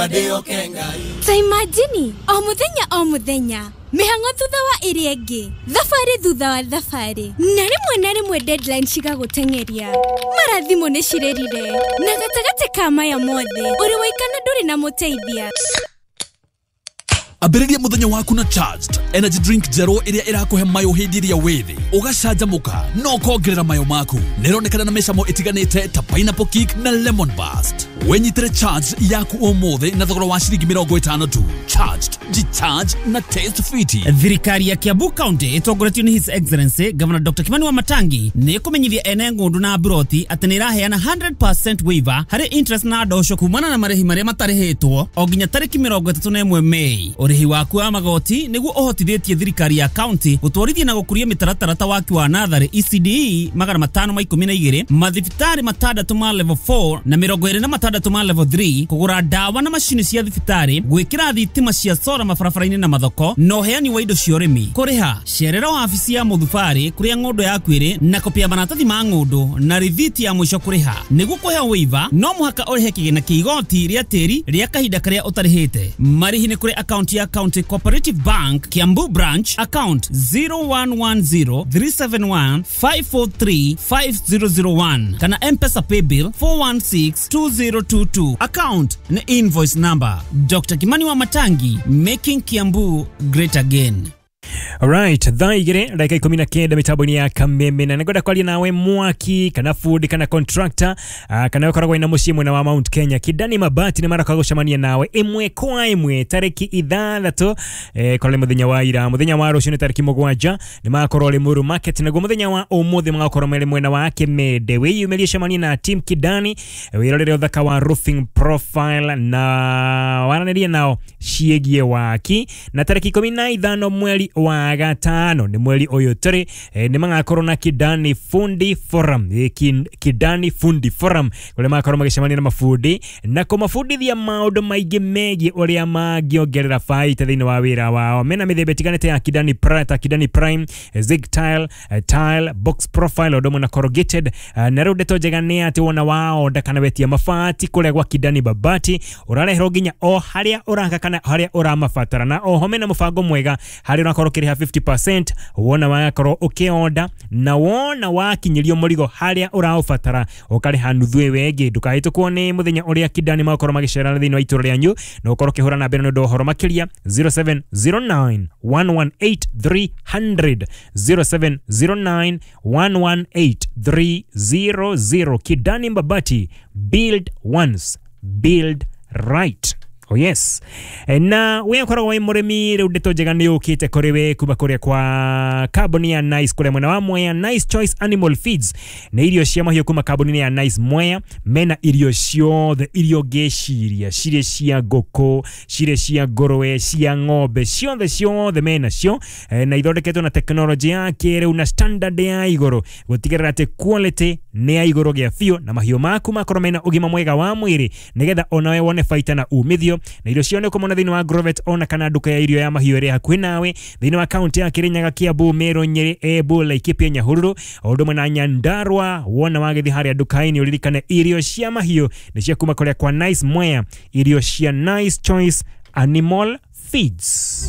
Ndauga ndĩhoke Ngai. Ta imagine o mũthenya o mũthenya, mĩhang'o thutha wa ĩrĩa ĩngĩ, thabarĩ thutha wa thabarĩ, na rĩmwe na rĩmwe deadline cigagũteng'eria, mara thimũ nĩ cirĩrire, na gatagatĩ ka maya mothe ũrĩ waikana, ndũrĩ na mũteithia. Ambĩrĩria mũthenya waku na Charged energy drink njerũ ĩrĩa ĩrakũhe mayũ hĩndĩ ĩrĩa wĩ thĩ, ũgacanjamũka na ũkongerera mayo maku. Nĩronekana na mĩcamo ĩtiganĩte ta pineapple kick na lemon burst. Wĩnyitĩre Charged yaku ũmũthĩ na thogora wa ciringi 50 tu. Charged, jicharge na taste fiti. Thirikari ya Kiambu County ĩtongoretio nĩ His Excellency Governor Dr. Kimani Wamatangi nĩ ĩkũmenyithia ene ng'ũndũ na mburoti atĩ nĩ ĩraheana 100% waiver harĩ interest na ndosho kumana na marĩhi marĩa matarĩhĩtwo o nginya tarĩki 31 Mei. Ũrĩhi waku wa magoti nĩguo ũhotithĩtie thirikari ya county gũtwarithia na gũkũria mĩtaratara ta waki wa natharĩ ECDE 512, mathibitarĩ 6 ma level 4 na 26 ma level 3, kũgũra ndawa na macini cia thibitarĩ, gwĩkĩra thitima cia sora mabarabara-inĩ na mathoko, na ũheani wa indo cia ũrĩmi. Kũrĩha, cerera wabici ya mũthubarĩ kũrĩa ng'ũndũ yaku ĩrĩ na kopi ya maratathi ma ng'ũndũ na rithiti ya mũico kũrĩha. Nĩguo kũheo waiver no mũhaka ũrĩhe kĩgĩna kĩa igoti rĩa tĩri rĩa kahinda karĩa ũtarĩhĩte. Marĩhi nĩ kũrĩ akaunti ya County Cooperative Bank, Kiambu Branch, account 0110 371 543 5001 kana M-Pesa paybill 416 2022, account na invoice number. Dr. Kimani Wamatangi, making Kiambu great again. Alright, 2:19 mitambo-inĩ ya Kameme, na nĩngwenda kwaria nawe mwaki kana fundi kana contractor, kana ũkoragwo wĩna mũciĩ mwena wa Mount Kenya. Kidani Mabati nĩ maroka gũcemania nawe ĩmwe kwa ĩmwe tarĩki 6, korwo nĩ mũthenya wa ira. Mũthenya wa rũciũ nĩ tarĩki 7 nĩ magakorwo Limuru Market, naguo mũthenya wa ũmũthĩ magakorwo marĩ mwena wa Kimende. Wĩyumĩrie, cemania na team Kidani, wĩrorere ũthaka wa roofing profile na waranĩrie nao ciĩgiĩ waki. Na tarĩki 15 mweri wa gatano, nĩ mweri ũyũ tũrĩ, nĩ magakorwo na Kidani Fundi Forum, Kidani Fundi Forum, kũrĩa magakorwo magĩcemania na mabundi na kũmabundithia maũndũ maingĩ megiĩ ũrĩa mangĩongerera baita thĩinĩ wa wĩra wao. Mena mĩthemba ĩtiganĩte ya Kidani Prime, ta Kidani Prime, Zig Tile, Tile Box Profile, ũndũ ũmwe na corrugated. Na rĩu ndeto njega nĩ atĩ wona waonda kana wetia mabati kũrĩa gwa Kidani Mabati, ũrareherwo nginya o harĩa ũraka kana harĩa ũramabatara. Na oho mena mũbango mwega harĩa ũrakorwo ũkĩrĩha 50% wona wakorwo ũkĩonda, na wona wakinyĩrio mũrigo harĩa ũraũbatara ũkarĩha nuthu ĩyo ĩngĩ. Ndũkahĩtũkwo nĩ mũthenya ũrĩa Kidani magakorwo magĩcera thĩinĩ wa itũra rĩanyu, na ũkorwo ũkĩhũra namba ĩno nĩ ũndũ wa ũhoro makĩria: 0709 118 300, 0709 118 300. Kidani Mabati, build once, build right. Oh yes. Na we ũkoragwo wĩ mũrĩmi, rĩu ndeto njega nĩ ũkĩte kũrĩ we kuma kũrĩa kwa kambuni ya Nice kũrĩa mwena wa Mwea. Nice Choice Animal Feeds nĩ irio cia mahiũ kuma kambuni ya Nice Mwea. Mena irio ciothe irio ngĩciria, cirĩ cia ngũkũ, cirĩ cia ngũrwe, cia ng'ombe, ciothe ciothe mena cio, na ithondeketwo na tekinoronjĩ ya kĩrĩu na standard ya igũrũ gũtigĩrĩra atĩ quality nĩ ya igũrũ gĩa biũ, na mahiũ maku makorwo mena ũgima mwega wa mwĩrĩ nĩgetha onawe wone baita na umithio. Na irio cio nĩ ũkũmona thĩinĩ wa Agrovet ona kana nduka ya irio ya mahiũ ĩrĩa hakuhĩ nawe thĩinĩ wa kaunti ya Kirinyaga, Kiambu, Meru, Nyeri, Embu, Laikipia, Nyahururu, o ũndũ ũmwe na Nyandarua. Wona wagĩthiĩ harĩa nduka-inĩ, ũririkane irio cia mahiũ nĩ cia kuma kũrĩa kwa Nice Mwea, irio cia Nice Choice Animal Feeds.